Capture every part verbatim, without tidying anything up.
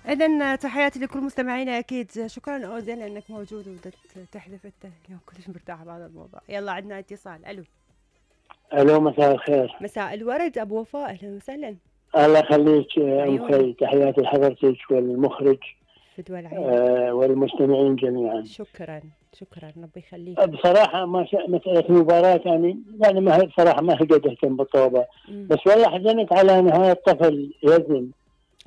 إذن تحياتي لكل مستمعينا أكيد. شكرا أوزيل لأنك موجود وتحذف أنت اليوم كلش مرتاح بهذا الموضوع. يلا عندنا اتصال. ألو. ألو مساء الخير. مساء الورد أبو وفاء، أهلا وسهلا. الله يخليك أم خي، تحياتي لحضرتك والمخرج فدوى العين آه والمستمعين جميعا. شكرا شكرا ربي يخليك. بصراحة ما مسألة المباراة يعني يعني ما هي بصراحة ما هي قد اهتم بالطوبة، بس والله حزنت على نهاية طفل يزن.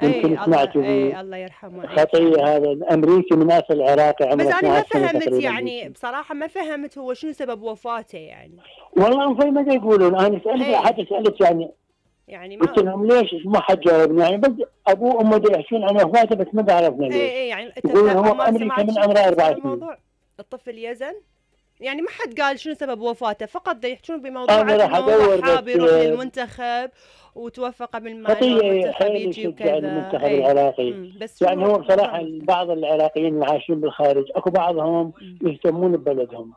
يمكن سمعتوا اي الله يرحمه خطية هذا الامريكي من اصل عراقي عمره بس انا ما فهمت يعني بصراحه ما فهمت هو شنو سبب وفاته يعني. والله هم في ما يقولون، انا سالت حتى سالت يعني يعني ما قلت لهم ليش ما حد جاوبني يعني، بس ابوه وامه يحكون عن وفاته بس ما عرفنا ليش. اي اي يعني يقولون هو بامريكا من عمره أربع سنين. الطفل يزن يعني ما حد قال شنو سبب وفاته، فقط يحكون بموضوع انه راح ادور حاب يروح للمنتخب وتوفى قبل ما المنتخب يجي وكذا. المنتخب العراقي بس يعني هو بصراحه بعض العراقيين اللي عايشين بالخارج اكو بعضهم يهتمون ببلدهم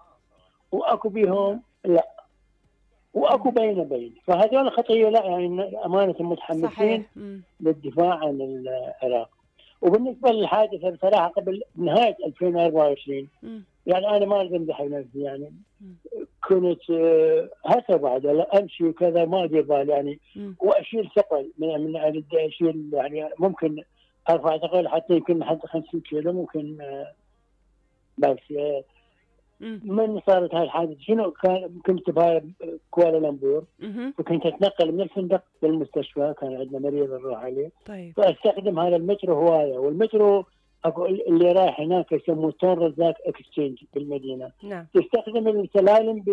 واكو بيهم لا، واكو بين بين، فهذول خطيه لا يعني امانه متحمسين للدفاع عن العراق. وبالنسبه للحادثه بصراحه قبل نهايه ألفين وأربعة وعشرين يعني انا ما اقدر امدح نفسي يعني كنت هسه بعد امشي وكذا ما ادري بالي يعني واشيل ثقل من من اشيل يعني ممكن ارفع ثقل حتى يمكن لحد خمسين كيلو ممكن. بس من صارت هاي الحادثه شنو كان كنت بهاي كوالالمبور وكنت اتنقل من الفندق للمستشفى، كان عندنا مريض نروح عليه. طيب. فاستخدم هذا المترو هوايه، والمترو اكو اللي رايح هناك يسموه تون رزاق اكستشينج بالمدينه. نعم. تستخدم السلالم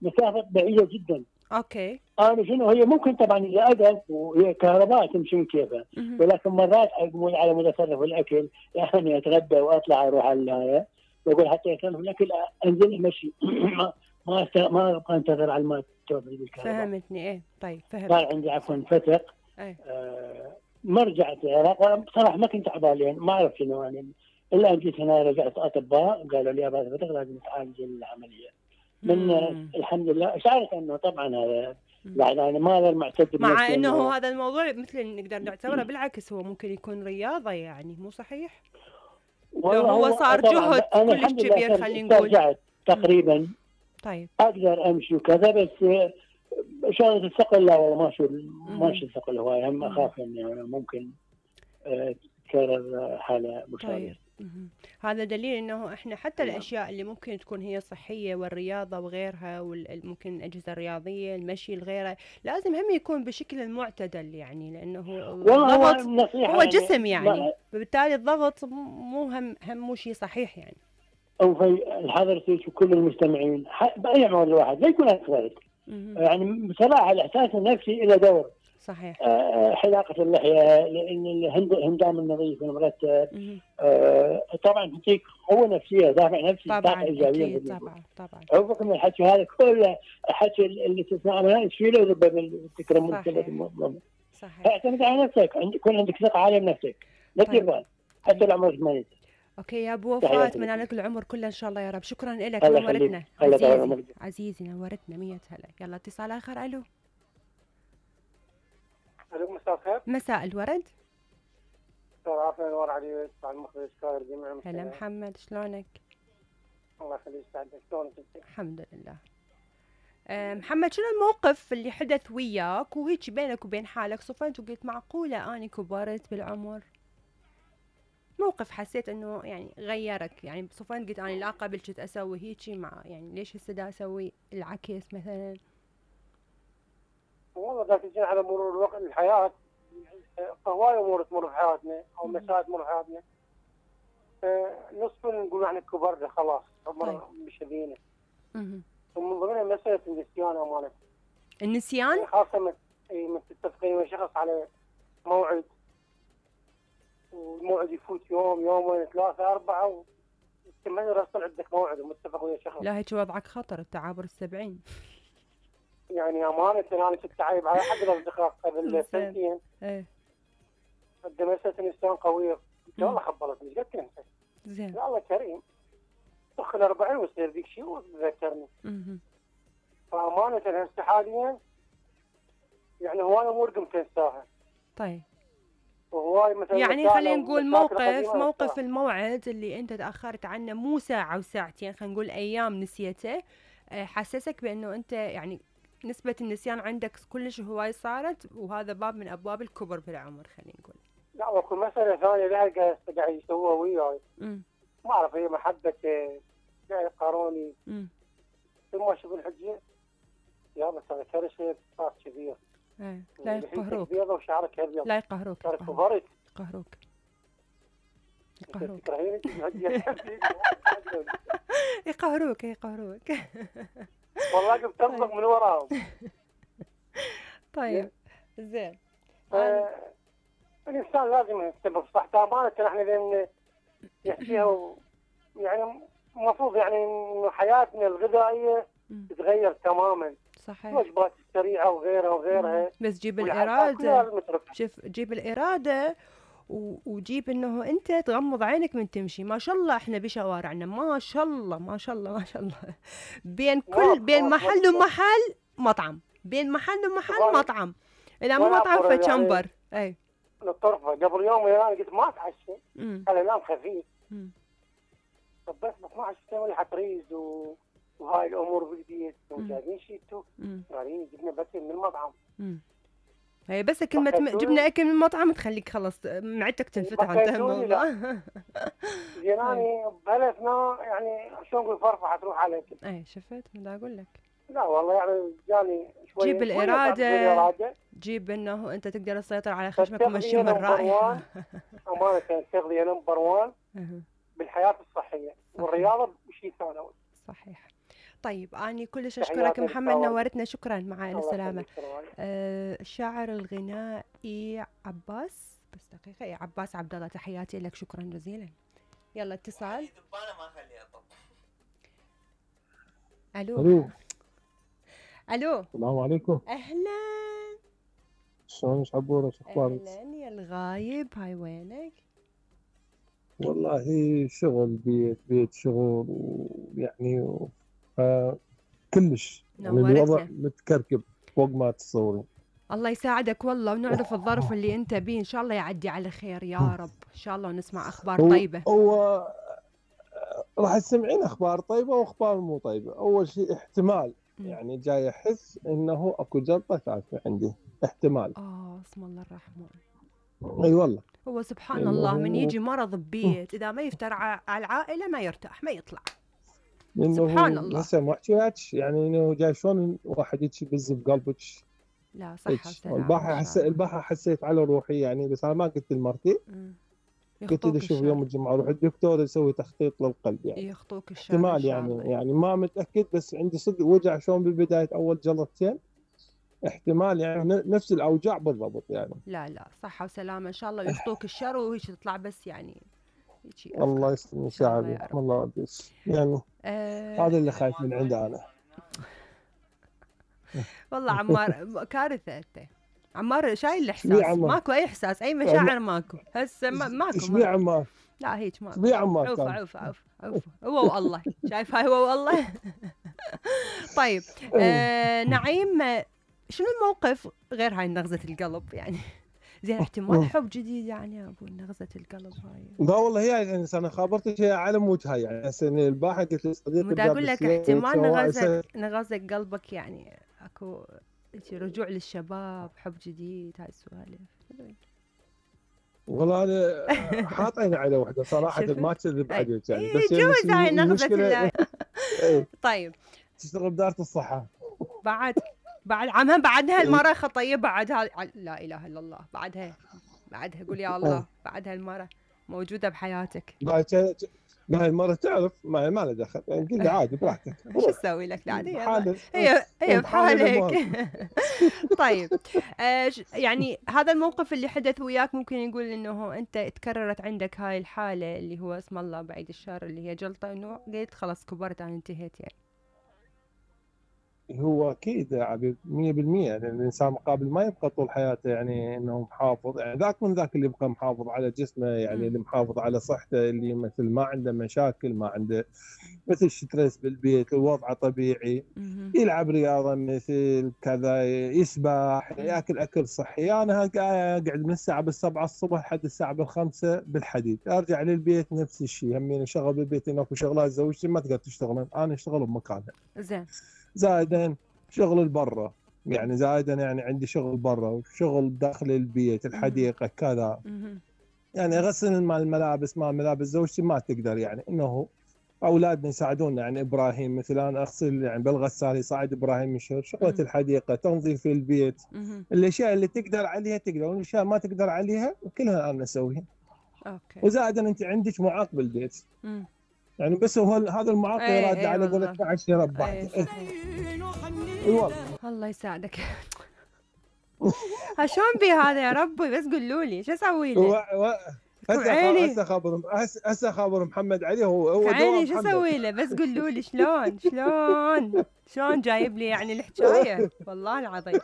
بمسافه بعيده جدا. اوكي. انا شنو هي ممكن طبعا اذا اقف وهي كهرباء تمشي كيفها، ولكن مرات اقوم على متصرف الاكل يعني اتغدى واطلع اروح على النهايه واقول حتى يصرف الاكل انزل امشي ما ما ما ابقى انتظر على ما توصل بالكهرباء. فهمتني ايه طيب فهمت. صار عندي عفوا فتق. ايه. آه ما رجعت العراق بصراحه ما كنت عبالي ما اعرف شنو يعني، الا جيت هنا رجعت اطباء قالوا لي هذا فتق لازم تعالج العمليه. من مم. الحمد لله شعرت انه طبعا هذا يعني انا ما هذا معتد مع انه هذا الموضوع مثل نقدر نعتبره بالعكس هو ممكن يكون رياضه يعني مو صحيح؟ لو هو صار جهد كلش كبير خلينا نقول. رجعت تقريبا. طيب. اقدر امشي وكذا بس شغله الثقل لا والله ما شو ماشي الثقل هواي، هم اخاف اني يعني ممكن تكرر حاله مشابهه. طيب. هذا دليل انه احنا حتى الاشياء اللي ممكن تكون هي صحيه والرياضه وغيرها وممكن الاجهزه الرياضيه المشي الغيره لازم هم يكون بشكل المعتدل يعني، لانه الضغط هو, هو جسم يعني فبالتالي الضغط مو هم هم مو شيء صحيح يعني. او في حضرتك وكل المستمعين باي عمر الواحد لا يكون اكبر يعني بصراحه الاحساس النفسي له دور. صحيح. آه حلاقه اللحيه لان الهندام النظيف المرتب آه طبعا تعطيك قوه نفسيه دافع نفسي طبعا ايجابيه. طبعا طبعا عوفك من الحكي هذا كله الحكي اللي تسمعه من تشيله بالتكرم صحيح صحيح. اعتمد على نفسك، يكون عندك ثقه عاليه بنفسك لا تدير بال حتى العمر ثمانين. اوكي يا ابو وفاء اتمنى لك العمر كله ان شاء الله يا رب. شكرا لك نورتنا عزيزي عزيزي نورتنا مية هلا. يلا اتصال اخر. الو. الو مساء الخير. مساء الورد. دكتور عافية نور علي مع المخرج كاير جميع. هلا محمد شلونك؟ الله يخليك يسعدك شلونك انت؟ الحمد لله. أه محمد شنو الموقف اللي حدث وياك وهيك بينك وبين حالك صفنت وقلت معقولة اني كبرت بالعمر؟ موقف حسيت انه يعني غيرك يعني صفنت قلت انا لا قبل كنت اسوي هيجي مع يعني ليش هسه دا اسوي العكس مثلا؟ والله دا تجينا على مرور الوقت الحياة هواي امور تمر في حياتنا او مسائل تمر في حياتنا نصف نقول احنا كبرنا خلاص عمر مشذينا. ومن ضمنها مسألة النسيان امانة. النسيان؟ خاصة من تتفقين ويا شخص على موعد والموعد يفوت يوم يومين ثلاثة أربعة وتمنى راسل عندك موعد ومتفق ويا شخص. لا هيك وضعك خطر التعابر السبعين. يعني أمانة أنا كنت عايب على حد الأصدقاء قبل سنتين. إيه. قد مسألة النسيان قوية. والله خبرتني ايش قد تنسى؟ زين. لا الله كريم. دخل أربعين ويصير ذيك شيء وتذكرني. اها. فأمانة هسه حاليا يعني هواي أمور قمت أنساها. طيب. وهواي هواي مثلا يعني مشاكل- خلينا نقول مشاكل موقف قديمة موقف نفسها. الموعد اللي انت تاخرت عنه مو ساعه وساعتين، خلينا نقول ايام نسيته، آه، حسسك بانه انت يعني نسبه النسيان عندك كلش هواي صارت، وهذا باب من ابواب الكبر بالعمر خلينا نقول. لا واكو مسألة ثانية لا قاعد قاعد يسووها وياي، امم ما اعرف هي محبة قاعد يقاروني امم ثم شوف الحجة يا بس هذا كرشه صار كبير. ايه لا يقهروك، بيضة وشعرك ابيض. لا يقهروك، صار كبرت. يقهروك يقهروك تكرهيني يقهروك يقهروك والله قمت تطبق من وراهم. طيب زين. الانسان لازم يهتم بصحته امانه. احنا لان نحكيها و... يعني المفروض يعني انه حياتنا الغذائيه تتغير تماما. صحيح. الوجبات السريعه وغيرها وغيرها. بس جيب الاراده، شوف جيب الاراده و... وجيب انه انت تغمض عينك من تمشي. ما شاء الله احنا بشوارعنا ما شاء الله ما شاء الله ما شاء الله بين كل بين محل ومحل مطعم، بين محل ومحل مطعم، اذا مو مطعم فشمبر. يعني اي الطرفه قبل يوم انا قلت ما اتعشى، انا نام خفيف طب بس ب اثنعش تسوي حتريز و... وهاي الامور بالبيت وجايبين شيتو قاعدين جبنا بس من المطعم. امم هي بس كلمة م... جبنا اكل من المطعم تخليك خلص معدتك تنفتح انتهى الموضوع. جيراني بهالاثناء يعني شلون نقول فرفحه تروح عليك. اي شفت ما اقول لك. لا والله يعني جاني شوي. جيب الإرادة، جيب انه انت تقدر تسيطر على خشمك ومشي من الرائحة. امانة التغذية نمبر وان بالحياة الصحية والرياضة شيء ثانوي. صحيح. طيب أنا كلش أشكرك محمد، نورتنا، شكرا. مع السلامة. آه الشاعر الغنائي عباس، بس دقيقة، إيه عباس عبد الله، تحياتي لك، شكرا جزيلا. يلا اتصال. ألو. ألو. ألو. السلام عليكم. أهلا. شلونك عبورة، شو أخبارك؟ أهلا يا الغايب، هاي وينك؟ والله شغل بيت بيت شغل ويعني آه كلش يعني الوضع متكركب فوق ما تتصورين. الله يساعدك والله، ونعرف الظرف اللي انت بيه، ان شاء الله يعدي على خير يا رب، ان شاء الله ونسمع اخبار هو طيبه. هو راح تسمعين اخبار طيبه واخبار مو طيبه. اول شيء احتمال م. يعني جاي احس انه اكو جلطه ثالثه عندي، احتمال. اه اسم الله الرحمن. اي والله. هو سبحان الله من يجي مرض ببيت اذا ما يفتر على العائله ما يرتاح ما يطلع. سبحان الله. هسه ما احكي لك يعني انه جاي شلون واحد يجي بز بقلبك. لا صح وسلامة. البارحه حسيت البارحه حسيت على روحي يعني، بس انا ما قلت لمرتي. قلت لي شوف يوم الجمعه روح الدكتور يسوي تخطيط للقلب يعني. يخطوك الشر احتمال يعني الله. يعني ما متاكد، بس عندي صدق وجع شلون بالبدايه اول جلطتين، احتمال يعني نفس الاوجاع بالضبط يعني. لا لا صحه وسلامه ان شاء الله، ويخطوك الشر وهيك تطلع بس يعني الله يسلم شعبي الله يبيس يعني. أه هذا اللي خايف من عنده انا. والله عمار كارثه انت عمار، شايل الاحساس، ماكو اي احساس اي مشاعر ماكو هسه ما ماكو. ايش بيه عمار؟ لا هيك ماكو. ايش بيه عمار؟ عوف عوف عوف عوف هو والله شايف هاي هو والله. طيب آه نعيم، شنو الموقف غير هاي نغزة القلب يعني؟ زين احتمال حب جديد يعني يا ابو نغزة القلب هاي. لا والله هي يعني انا خابرتك هي على وجهها يعني. هسه البارحه قلت لصديقي بدي اقول لك احتمال نغزة نغزة قلبك يعني اكو رجوع للشباب، حب جديد، هاي السوالف. والله انا حاط عيني على وحده صراحه ما اكذب عليك يعني، بس جوز هاي نغزة. طيب تشتغل بدارة الصحه بعد بعد عمها بعدها المرة خطيه بعدها. لا اله الا الله، بعدها بعدها قول يا الله بعدها المرة موجودة بحياتك. لا المرة تعرف ما ما له دخل يعني، قل لي عادي براحتك. شو اسوي لك عادي هي هي بحالك. طيب آه يعني هذا الموقف اللي حدث وياك ممكن نقول انه انت تكررت عندك هاي الحالة اللي هو اسم الله بعيد الشر اللي هي جلطة، انه قلت خلاص كبرت انا انتهيت يعني. هو اكيد يا عبيد مية بالمية، لان الانسان مقابل ما يبقى طول حياته يعني انه محافظ، يعني ذاك من ذاك اللي يبقى محافظ على جسمه، يعني اللي محافظ على صحته، اللي مثل ما عنده مشاكل، ما عنده مثل ستريس بالبيت، وضعه طبيعي، يلعب رياضه مثل كذا، يسبح، ياكل اكل صحي. انا اقعد من الساعه بالسبعة الصبح لحد الساعه بالخمسة بالحديد، ارجع للبيت نفس الشيء، همين اشغل بالبيت، اكو شغلات زوجتي ما تقدر تشتغل، انا اشتغل بمكانها. زين. زائدا شغل برا، يعني زائدا يعني عندي شغل برا وشغل داخل البيت، الحديقه كذا. يعني غسل مال الملابس، مال ملابس زوجتي ما تقدر، يعني انه اولادنا يساعدونا، يعني ابراهيم مثلا انا اغسل يعني بالغساله، يساعد ابراهيم يشتغل شغله الحديقه، تنظيف البيت، الاشياء اللي تقدر عليها تقدر، والاشياء ما تقدر عليها كلها انا اسويها. اوكي. وزائدا انت عندك معاق بالبيت، مم. يعني بس هو هذا المعاق يراد على قولة عشرة يربح. والله الله يساعدك. شلون بي هذا يا ربي؟ بس قولوا لي شو اسوي له؟ و... هسه هسه خابر هسه خابر محمد علي، هو هو عيني شو اسوي له؟ بس قولوا لي شلون شلون شلون جايب لي يعني الحكايه، والله العظيم.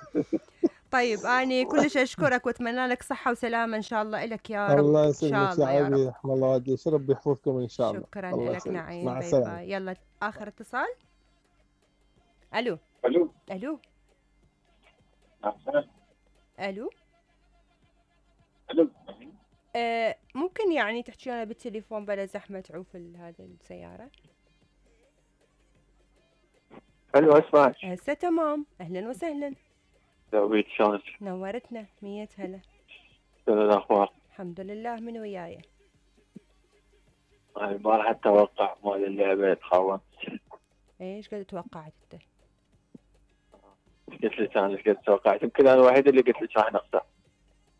طيب أنا كلش أشكرك وأتمنى لك صحة وسلامة إن شاء الله إلك يا رب. الله يسلمك يا عبيد، رحم الله والديك، ربي يحفظكم إن شاء الله. شكرا لك نعيم. مع السلامة. يلا آخر اتصال. ألو ألو ألو ألو ألو آه ممكن يعني تحكي لنا بالتليفون بلا زحمة تعوف هذه السيارة؟ ألو أسمعك هسه تمام. أهلا وسهلا. عبيد شلونك؟ نورتنا. مية هلا. شنو الأخبار؟ الحمد لله. من وياي؟ أنا البارحة أتوقع مال اللعبة تخونت. إيش قد توقعت أنت؟ قلت لك أنا ايش قد توقعت، يمكن أنا الوحيد اللي قلت لك راح نخسر.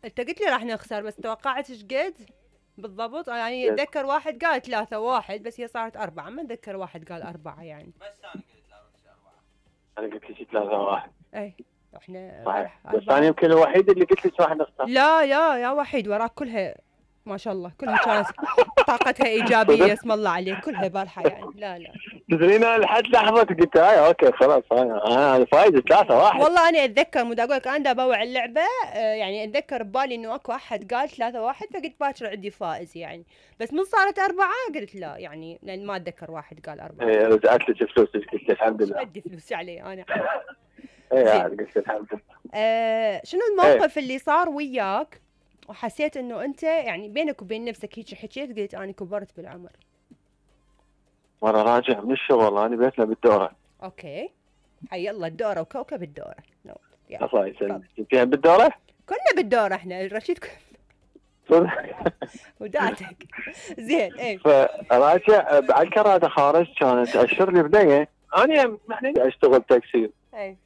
أنت قلت لي راح نخسر، بس توقعت ايش قد؟ بالضبط يعني أتذكر واحد قال ثلاثة واحد، بس هي صارت أربعة، ما أتذكر واحد قال أربعة يعني. بس أنا قلت ثلاثة أربعة. أنا قلت لك ثلاثة واحد. إيه إحنا صحيح، بس أنا يمكن الوحيد اللي قلت لك راح نخسر. لا لا يا وحيد، وراك كلها ما شاء الله، كلها كانت طاقتها إيجابية اسم الله عليك، كلها بارحة يعني. لا لا تدرين أنا لحد لحظة قلت هاي أوكي خلاص أنا أنا فايز ثلاثة واحد. والله أنا أتذكر مو أقول لك أنا بوع اللعبة يعني أتذكر ببالي إنه أكو أحد قال ثلاثة واحد، فقلت باكر عندي فائز يعني، بس من صارت أربعة قلت لا يعني، لأن ما أتذكر واحد قال أربعة. إيه رجعت لك فلوسك قلت الحمد لله. أدي فلوسي علي أنا. إيه قلت الحمد لله. آه شنو الموقف اللي صار وياك وحسيت انه انت يعني بينك وبين نفسك هيك حكيت قلت انا كبرت بالعمر؟ مرة راجع من الشغل، انا بيتنا بالدورة. اوكي. حي الله الدورة وكوكب الدورة. نو الله يسلمك. انتي بالدورة؟ كنا بالدورة احنا، رشيد وداتك. زين ايه. فراجع على الكرادة خارج، كانت اشر لي بنية، انا يعني اشتغل تاكسي. اي.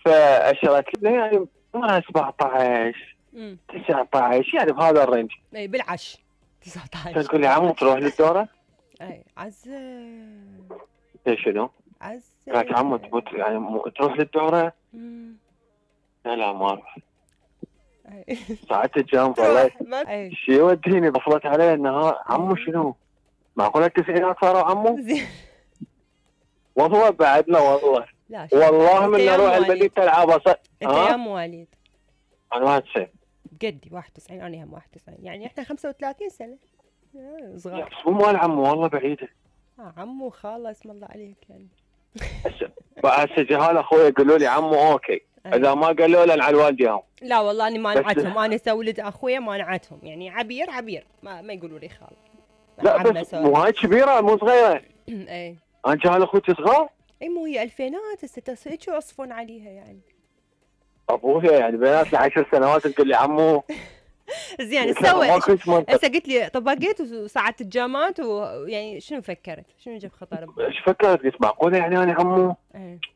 فاشرت لي بنية يعني عمرها سبعة عشر تسعة عشر يعني بهذا الرينج. اي بالعش تسعة عشر. تقول لي عمو تروح للدورة؟ اي عز. ايش شنو؟ عز. قالت عمو تبوت يعني تروح للدورة؟ لا لا ما اروح. ساعات الجنب والله شي يوديني، بصلت عليه النهار عمو شنو؟ معقولة التسعينات صاروا عمو؟ والله بعدنا والله. لا والله من نروح المدينة العاب انت يا مواليد؟ انا واحد وتسعين. قدي واحد وتسعين، انا هم واحد وتسعين، يعني احنا خمسة وثلاثين سنة صغار. بس مو مال عمو والله بعيدة. اه عمو خاله اسم الله عليك يعني. هسه جهال اخوي يقولوا لي عمو اوكي، اذا ما قالوا لنا على والديهم. لا والله اني ما نعتهم، انا اسوي ولد اخويا ما نعتهم، يعني عبير عبير ما, ما يقولوا لي خال. لا بس مو هاي كبيرة مو صغيرة. اي انا جهال اخوتي صغار. اي مو هي الفينات هسه هيك يوصفون عليها يعني. ابويا يعني بينات عشر سنوات تقول لي عمو. زين سوي هسه قلت لي طبقت وساعات الجامات ويعني شنو فكرت؟ شنو جاب خطر؟ ايش فكرت؟ قلت معقوله يعني انا عمو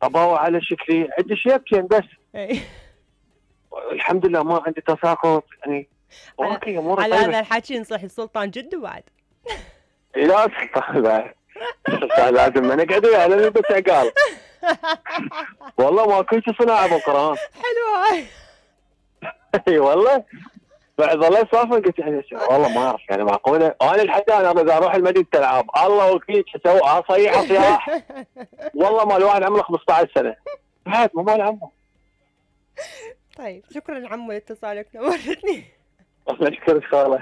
اباوع على شكلي عندي شيبتين بس. اي الحمد لله ما عندي تساقط يعني. اوكي اموري على هذا الحكي نصيح السلطان جده بعد. لا سلطان بعد لازم ما نقعد وياه لازم بس عقال. والله ما كنت صناعه بالقران. حلوه. اي والله بعد والله صافن قلت يعني والله ما اعرف يعني معقوله انا الحين انا اذا اروح المدينه العاب الله وكيل اسوي اصيح اصياح والله ما الواحد عمره خمسة عشر سنه عاد مو مال عمو. طيب شكرا عمو لاتصالك، نورتني. الله يشكرك خاله.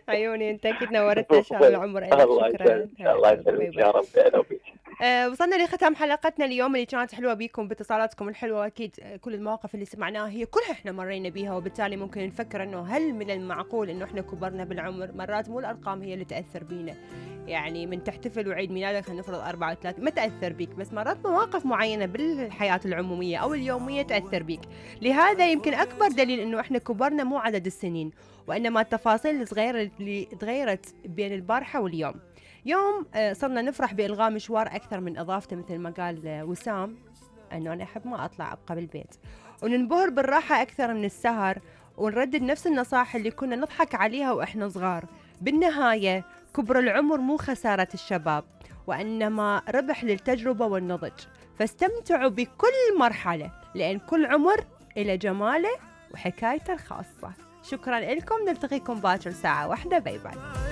عيوني انت اكيد نورتنا شهر العمر. الله يسلمك الله يسلمك يا رب. انا وبيك. أه وصلنا لختام حلقتنا اليوم اللي كانت حلوه بيكم باتصالاتكم الحلوه. اكيد كل المواقف اللي سمعناها هي كلها احنا مرينا بيها، وبالتالي ممكن نفكر انه هل من المعقول انه احنا كبرنا بالعمر؟ مرات مو الارقام هي اللي تاثر بينا، يعني من تحتفل وعيد ميلادك خلينا نفرض أربعة وثلاثين ما تاثر بيك، بس مرات مواقف معينه بالحياه العموميه او اليوميه تاثر بيك. لهذا يمكن اكبر دليل انه احنا كبرنا مو عدد السنين، وانما التفاصيل الصغيره اللي تغيرت بين البارحه واليوم. يوم صرنا نفرح بإلغاء مشوار أكثر من إضافته، مثل ما قال وسام أنه أنا أحب ما أطلع أبقى بالبيت، وننبهر بالراحة أكثر من السهر، ونردد نفس النصائح اللي كنا نضحك عليها وإحنا صغار. بالنهاية كبر العمر مو خسارة الشباب، وإنما ربح للتجربة والنضج، فاستمتعوا بكل مرحلة لأن كل عمر إلى جماله وحكايته الخاصة. شكرا لكم، نلتقيكم باكر ساعة واحدة. باي باي.